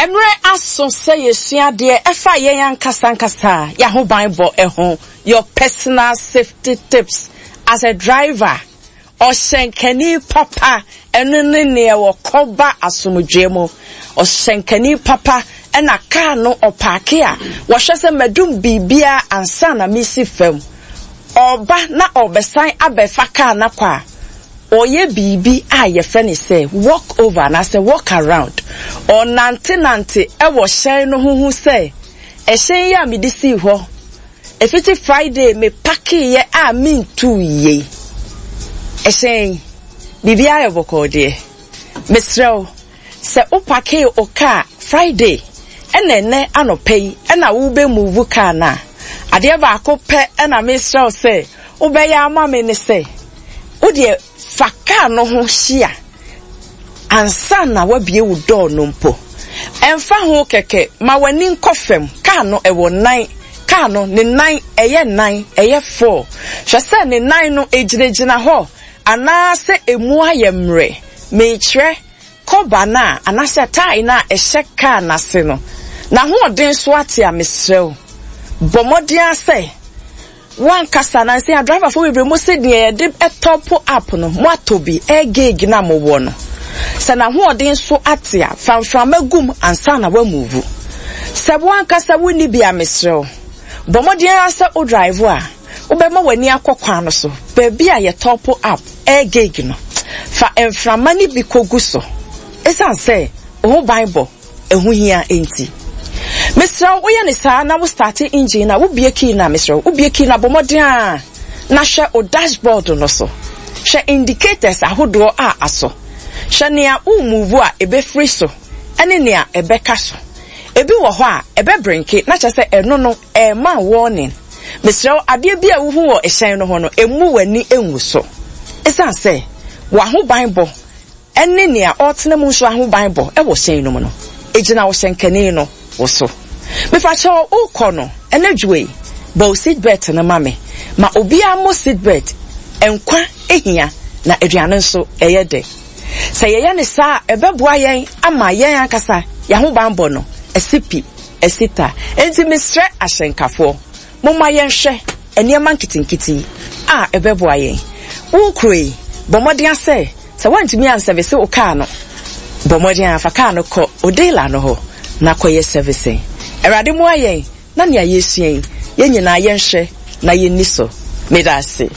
Mmerɛ aso sɛ yɛsua adeɛ ɛfa yɛn ankasa ankasa yɛahobanbɔ ho, your personal safety tips as a driver. Ɔhyɛnkani papa, ɛno ne neɛ wɔkɔ ba asomdwoeɛ mu. Ɔhyɛnkani papa ɛna kaa no ɔpaake a, wɔhwɛ sɛ madum biribiara ansa na mesi fam. Ɔreba na ɔrebɛsan abɛfa kaa no akɔ a, ɔreyɛ biribi a yɛfrɛ no sɛ walk over anaasɛ walk around. Ɔrenantenante wɔ hyɛn no ho hu sɛ ɛhyɛn yi a mede sii hɔ ɛfiti Friday me pakeeɛ a mentuu yei. Ɛhyɛn yi, biribiara yɛ bɔkɔɔ deɛ. Mesrɛ wo, Sɛ wo pakee wo car Friday ɛna ɛnɛ anɔpa yi ɛna wo bɛ move car no a, adeɛ baako pɛ ɛna mesrɛ wo sɛ wo bɛyɛ ama me ne sɛ, wo deɛ fa car no ho hyia ansa na wabie wo door no mpo. Ɛmfa ho kɛkɛ, ma w'ani nkɔ fam, car no ɛwɔ nan, car no ne nan ɛyɛ nan, ɛyɛ four. Hwɛ sɛ ne nan no ɛgyinagyina hɔ anaasɛ ɛmu ayɛ mmerɛ. Merekyerɛ kɔba no a anaasɛ tae no a ɛhyɛ kaa no ase no, n'ahoɔden so ate a, mesrɛ wo, bɔ mmɔden ara sɛ w'ankasa, nansa yi adriverfoɔ bebree mo se deɛ yɛde tɔpo up no, moatɔ bi, air gauge no a mowɔ no, sɛ n'ahoɔden so ate a, fa mframa gu mu ansa na woamuvu. Sɛ w'ankasa wonni bi a, mesrɛ wo, bɔ mmɔden ara sɛ wo drive a, Wobɛma w'ani akɔ kwan no so, baabi a yɛtɔpo up air gauge no. Fa mframa no bi kogu so. Esiane sɛ wo ho banbɔ ho hia nti. Mesrɛ wo, woyɛ no saa na wo starte engine no a, wobue key no a, mesrɛ wo, wobue key no a, bɔ mmɔden ara na hwɛ wo dashboard no so. Hwɛ indicators ahodoɔ a asɔ. Hwɛ nea wo move a ɛbɛfiri so ne nea ɛbɛka so. Ebi wɔ hɔ a, ɛbɛbrenke na kyerɛ sɛ ɛno no, Ɛrema warning. Mesrɛ wo, adeɛ bi a wohu wɔ hyɛn no ho no, mmu w'ani ngu so. Esiane sɛ w'ahobanbɔ ne nea ɔretena mu nso ahobanbɔ wɔ hyɛn no mu no, egyina wo hyɛnkani no wo so. Mepakyɛw, worekɔ no, anadwo yi, bɔ wo seat belt no ma me. Ma obiara mmɔ seat belt. Nkwa hia, na aduane nso, ɛyɛ dɛ. Sɛ yɛyɛ no saa a, ɛbɛboa yɛn ama yɛn ankasa yɛn ahobanbɔ no asi pi. Esita, Enti mesrɛ ahyɛnkafoɔ, momma yɛnhwɛ nneɛma nketenkete yi a ɛbɛboa yɛn. Wo kuro yi, bɔ mmɔden ara sɛ, sɛ woantumi ansɛvese wo kaa no, bɔ mmɔden ara fa kaa no kɔ wo dealer no hɔ na kɔyɛ sɛveseng. Awurade mmoa yɛn na nea yɛresua yi, yɛn nyinaa yɛnhwɛ na yɛnni so. Meda ase.